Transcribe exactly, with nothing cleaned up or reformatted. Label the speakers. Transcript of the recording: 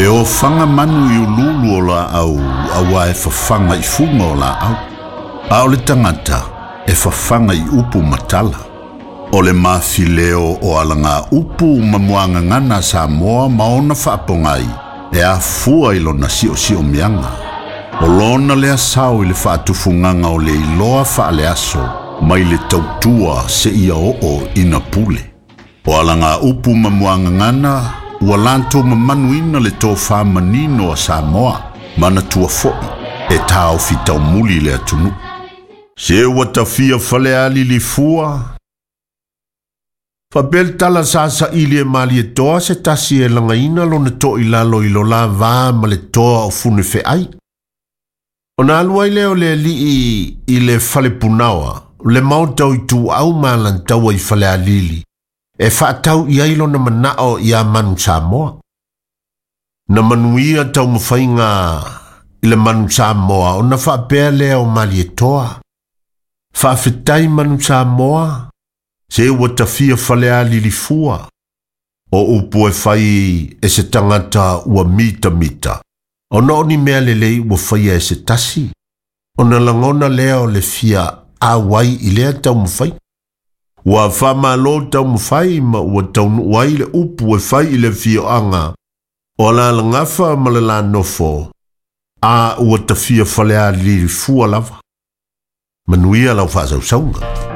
Speaker 1: E ofaga manu i ululu o laau auā e fafaga i fuga o laau. A o le tagata e fafaga i upu ma tala. O le mafileo o alaga upu ma muagagana a Samoa ma ona faapogai e afua i lona siosiomiaga. O lona lea sao i le faatufugaga o le iloa faaleaso mai le tautua seia oo ina pule. O alaga upu ma muagagana ua latou mamanuina le tofā manino a Samoa manatua fo'i e taofi taumuli le atunuu. Se ua tafia Falealili lifua. Faapea le tala sa saili e Malietoa se tasi e lagaina lona toʻilalo i lo la va ma le toa o Funefeai. Ona alu ai lea o le alii i le falepunaoa, le maota o Ituau ma Alataua i Falealili, e faatau i ai lona manao ia Manu Samoa. Na manuia taumafaiga i le Manu Samoa ona faapea lea o Malietoa. Faafetai Manu Samoa, se ua tafia Falealili fua. O upu e fai e se tagata ua mitamita. Ona o ni mea lelei ua faia e se tasi. Ona lagona lea o le fia auai i lea taumafai. Ua faamalo taumafai ma ua taunuu ai le upu e fai i le afioaga o Alalagafa ma le Lanofo, a ua tafia Falealili fua lava. Manuia lau faasausauga.